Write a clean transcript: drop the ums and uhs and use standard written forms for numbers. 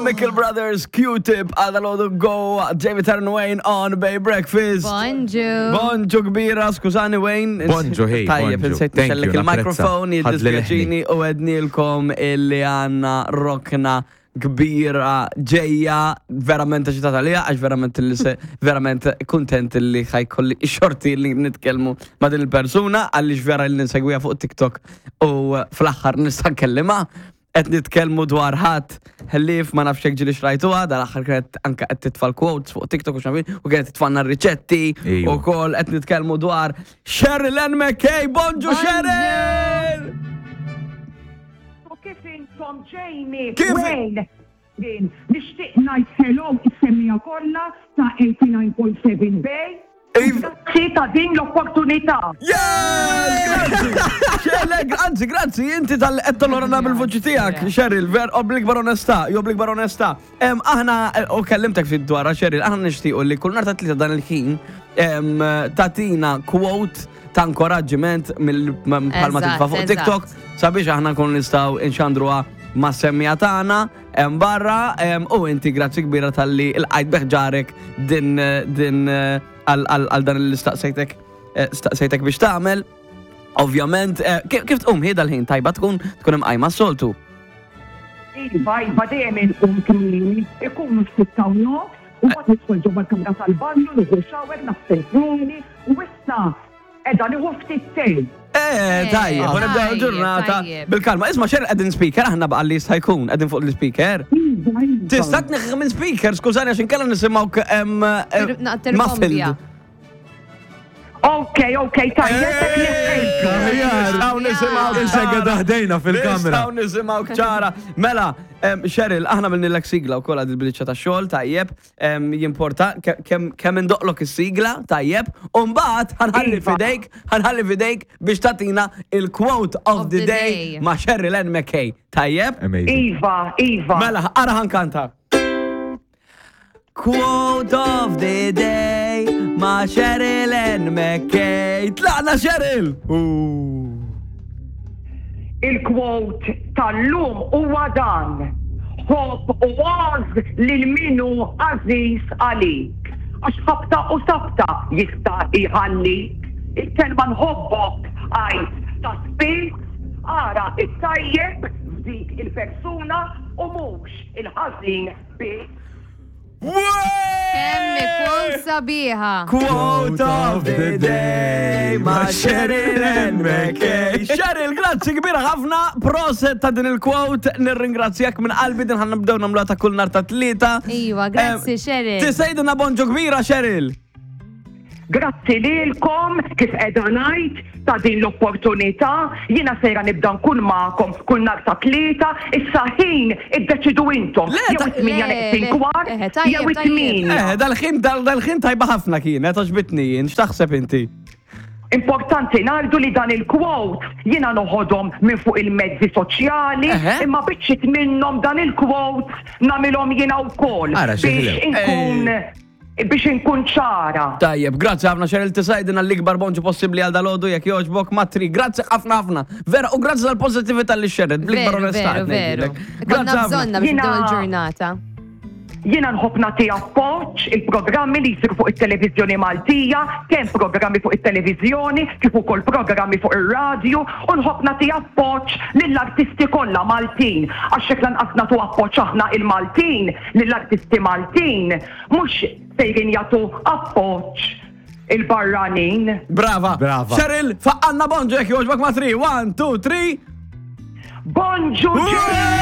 Chemical Brothers, Q-Tip, għada l-għodu go, Jamie Tarn Wayne on Bay Breakfast. Bonġu. Bonġu kbira, skużani Wayne. Bonġu, hey, Tajjeb, bonġu. insejt Thank nixellek you, il-mikrofon, napprezza. Ħadli jiddispjaċini u għednilkom illi għanna rokna kbira ġejja, verament eċitata għalija, għax verament li se, verament kontent li ħajkolli xorti li nitkellmu ma' din il-persuna, għaliex vera li nsegwiha fuq TikTok u fl-aħħar nista' nkellimha. Qed nitkellmu dwar ħadd ħlief ma nafx hekk ġieli xrajtuha, dal-aħħar kienet anke qed titfa' l-quotes fuq TikTok u x'naf u kienet titfanna r-riċetti Ejwa. ukoll qed nitkellmu dwar Sheryl Ann McKay, bonġu Bonġu! Sheryl! U kif intom Jamie, Kif- Wayne, jien nixtieq ngħid hello is-semmiegħa kollha ta' 89.7 Bay. Iv- Grazzi ta' din l-opportunità. Yes! Grazzi! Xelek, anzi, grazzi, inti tal-qed tonorana bil-vuċi tiegħek, Sheryl, ver oblig onestà, jo oblig onestà. Em, Aħna, eh, u kellimtek ftit dwarha, Sheryl, aħna nixtiequ li kull nhar ta' tlieta dan il-ħin em, tatina quote ta' inkoraġġiment mill bħalma Eżatt, titfa' fuq eżatt. TikTok sabiex aħna nkunu nistgħu nxandruha ma' semmija tagħna hemm barra em, u inti grazzi kbira talli l-qajt beħġarek din din eh, għal għal- għal dan li staqsejtek eh, staqsejtek biex tagħmel. Ovvjament, eh, kif kif tqum hi dal-ħin tajba tkun tkun imqajma s-soltu. Iva, iva, dejjem inqum kmieni, ikunu s-6:30, u mbagħad nidħol ġewwa l-kamra tal-banju, nieħu shower, naħsel snieni, u issa qiegħda nieħu ftit te. Eh, tajjeb, u nibdew tajjeb, il-ġurnata tajjeb. bil-kalma. Isma' xer qegħdin speaker, aħna baqa' li jista' jkun qegħdin fuq l-speaker. Iva, iva. Tista' tneħħi minn speaker, skużani għax inkella nisimgħu em, eh, Naqter muffled. Ok, ok, tajjeb, hekk neħħejtu. Nistgħu nisimgħu Insegħa daħdejna fil-kamra. Nistgħu nisimgħu ċara. Mela, em, Cheryl, aħna minnilek sigla wkoll għad il-biċċa ta' xogħol tajjeb, em, jimporta ke- kemm kemm indoqlok is-sigla tajjeb, u mbagħad ħanħalli Iva. fidejk, ħanħalli fidejk biex tagħtina il-quote of the day ma' Cheryl Ann McKay. Tajjeb? Amazing. Iva, iva. Mela, ara ħankanta. Quote of the day ma' Cheryl Ann McKay. Tlaqna Cheryl! Il-quote tal-lum huwa dan. Ħobb u għożż lil min hu għażiż għalik. Għax ħabta u sabta jista' jħallik. Il-kelma nħobbok għid ta' spiss, ara t-tajjeb f'dik il-persuna u mhux il-ħażin biss. Kemm ikun sabiħa. Quote of the day ma' Cheryl Ann McKay. Cheryl, grazzi kbira ħafna. Proset ta' din il-quote. Nirringrazzjak minn qalbi din ħan nibdew nagħmluha ta' kull nhar ta' tlieta. Iva, grazzi, Eh, Cheryl. Tisejdilna bonġu kbira, Cheryl. Grazzi lilkom kif qiegħda ngħid ta' din l-opportunità. Jiena sejra nibda nkun magħkom kull nhar ta' Tlieta, issa ħin iddeċidu intom. Le, Jew ta- it-tmienja Le, neqsin le. kwart, Eħe, tajjeb, jew tajjeb. it-tmienja. Eh, dal-ħin dal-ħin tajba ħafna kienet, għoġbitni jien, x'taħseb inti? Importanti ngħidu li dan il-quote jiena noħodhom minn fuq il-mezzi soċjali, Eħe. imma biċċiet minnhom dan il-quote nagħmilhom jiena wkoll Ara, xi biex ħlew. inkun biex inkun ċara. Tajjeb, grazzi ħafna Cheryl tisajdina l-ikbar bonġu possibbli għal dalodu jekk jogħġbok matri. Grazzi ħafna ħafna. Vera, u grazzi tal-pozittività li xerred, bl-ikbar Veru, onestà. veru, qed veru. ngħidlek. Konna Grazzi ħafna. bżonna biex Jina- nibdew il-ġurnata. Jiena nħobb nagħti appoġġ il-programmi li jsiru fuq it-televiżjoni Maltija, kemm programmi fuq it-televiżjoni kif ukoll programmi fuq ir-radju, u nħobb nagħti appoġġ lill-artisti kollha Maltin għax jekk lanqas nagħtu appoġġ aħna il-Maltin lill-artisti Maltin mhux sejrin jagħtu appoġġ il-barranin. Brava. Brava. Cheryl, faqqanna bonġu jekk jogħġbok matri. 1, 2, 3. Bonġu Ġej!